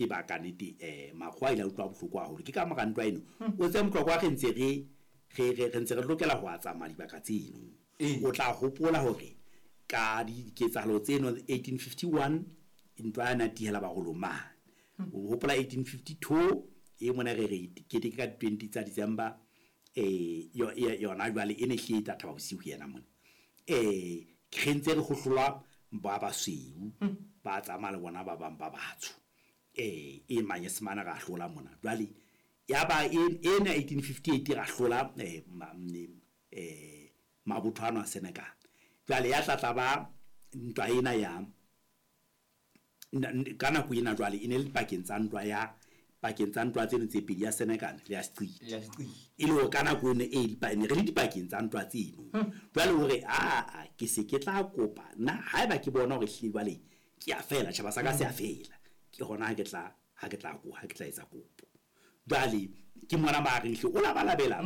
E ba ka nete makgowa a ile a utlwa bohloko haholo. Ke ka mora ntwa eno, o tsebe Motlokwa re ntse re re re re ntse re lokela ho a tsamaya dibaka tseno. O tla hopola hore ka diketsahalo tseno 1851 ntwa ya natihela Barolong mane. O hopola 1852 e mona re re keteke ka di 20 tsa December yona jwale e ne hlile e tla thaba bosiu yena mona. Re ntse re hohlolwa ba basweu ba tsamaya le bona ba bang ba batsho. E Manyesemane ra hlola mona. Jwale ya ba ena 1858 ra hlola mabotho ano a Senegal. Jwale ya tla tla ba ntwa ena ya ka nako ena jwale e ne le pakeng tsa ntwa ya pakeng tsa ntwa tseno tse pedi ya Senegal le ya Seqiti. E le hore ka nako eno e ne re le dipakeng tsa ntwa tseno. Jwale hore aa ke se ke tla kopa nna haeba ke bona hore ehlile jwale ke a fela, tjhaba sa ka se a fela, ke hona ha ke tla ha ke tla ha ke tla etsa kopo. Jwale ke mona ba reng hle o labalabela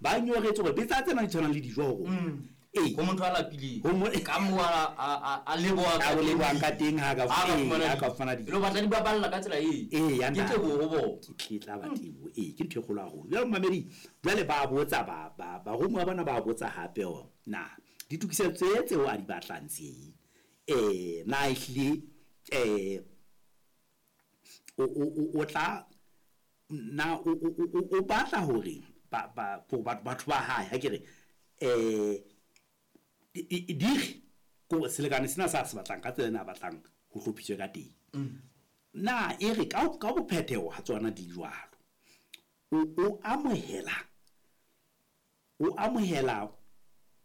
ba nyoretswe hore betsa tsena di tshwanang le dijo ho rona. Ee. Ho motho a lapileng. Ho mo Ka moo a a leboha ka lebohang ka teng ha ka ha ka fumana dijo. Lo batla di baballa ka tsela e. Ee, ya Ke teboho ho bona. Ke tla ba teboho. Ee, ke ntho e kgolo haholo. Jwale momamedi, jwale ba botsa ba ba baromuwa bana ba botsa hape hore na ditokisetso tse tseo a di batlang tse na ehlile o tla na o batla hore ba ba batho ba hae ha ke re dire ko selekane sena sa se batlang ka tsela ena a batlang ho hlophiswe ka teng. Na e re ka ka bophetheho ha tsona di jwalo, o amohela o amohela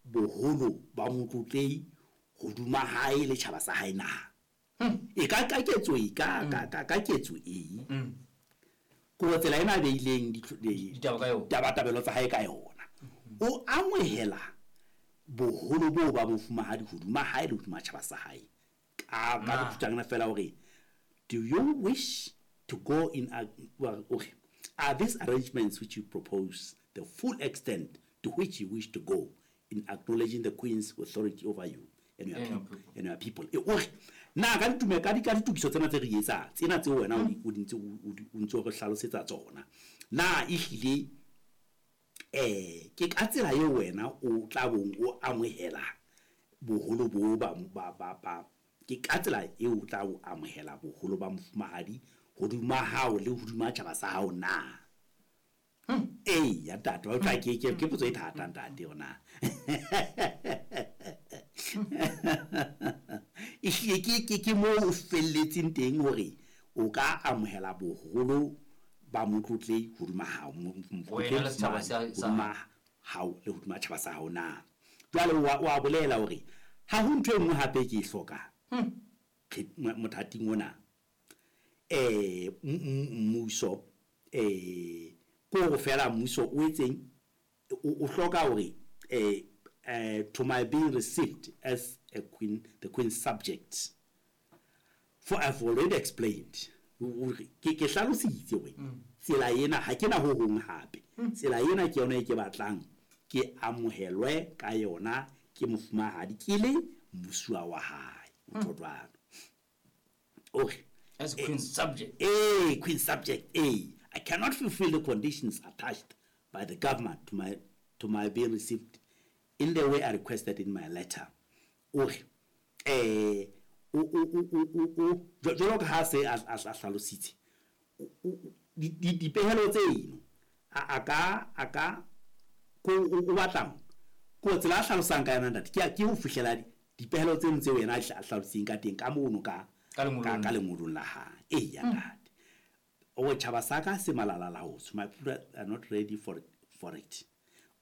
boholo ba motlotlehi hoduma hae le tjhaba sa hae na? E ka ka ketso e ka ka ka ka ketso e. Ko tsela ena a beileng Ditaba ka yona. Tabatabelo tsa hae ka yona. O amohela boholo boo ba mofumahadi hoduma hae le hoduma tjhaba sa hae. Ka ka bokhutshwanyane fela hore do you wish to go in a, well, okay, are these arrangements which you propose the full extent to which you wish to go in acknowledging the Queen's authority over you and your people, and your people? E o re na ka ditume ka di ka ditokiso tsena tse re etsang tsena tseo wena o di ntse o ntse o re hlalosetsa tsona, na ehlile ke ka tsela eo wena o tla bong o amohela boholo bo ba ba ba ba ke ka tsela eo o tla o amohela boholo ba mofumahadi hoduma hao le hoduma tjhaba sa hao na? Ee, ya ntate, wa utlwa ke ke ke potso e thata ntate yona. Ehlile ke ke ke moo o felletseng teng hore o ka amohela boholo ba motlotlehi hoduma hao, Wena le setjhaba sa hoduma hao le hoduma tjhaba sa hao na? Jwale o a bolela hore ha ho ntho e nngwe hape ke e hlokang mothating ona. Mmuso ke hore feela mmuso o etseng o hloka hore to my being received as a queen, the queen's subject. For I've already explained. Ke ke hlalositse hore tsela ena ha ke na ho hong hape. Tsela ena ke yona e ke batlang ke amohelwe ka yona ke mofumahadi ke le mmusuwa wa hae. O tjho jwalo. O re As queen's subject. Queen's subject. I cannot fulfill the conditions attached by the government to my being received in the way I requested in my letter. O re o o o o o jwalo ka ha se a hlalositse dipehelo tseno a ka a ka ko o batlang ko tsela a hlalosang ka yona ntate ke ho fihlela dipehelo tseno tseo yena a hlalositseng ka teng ka mono ka ka lengolong la hae. Ee ya ntate, o tjhaba sa ka se malala laotswe, my people are not ready for it.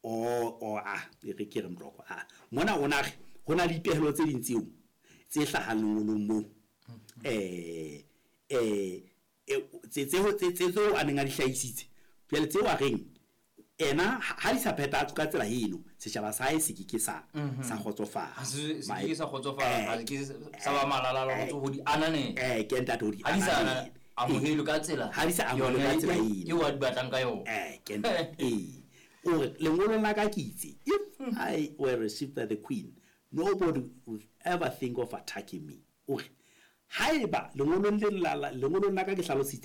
Or ah e re ke re Mtloko ah mona o na re ho na le dipehelo tse ding tseo tse hlahang lengolong moo tse tse tseo a neng a di hlahisitse jwale tseo a reng ena ha di sa phethahatswe ka tsela eno setjhaba sa hae se ke ke sa sa kgotsofala. Ha se ke sa kgotsofala, ha ke sa ba malala ho di ananela. Ke ntate ho di Ha di sa ananela. Amohelwe ka tsela Ha di sa amohelwe ka tsela eno. Eo a di batlang ka yona. Ke ntate o re lengolong la ka ke itse if I were received by the queen, nobody would ever think of attacking me. O re haeba lengolong le la lengolong la ka ke hlalositse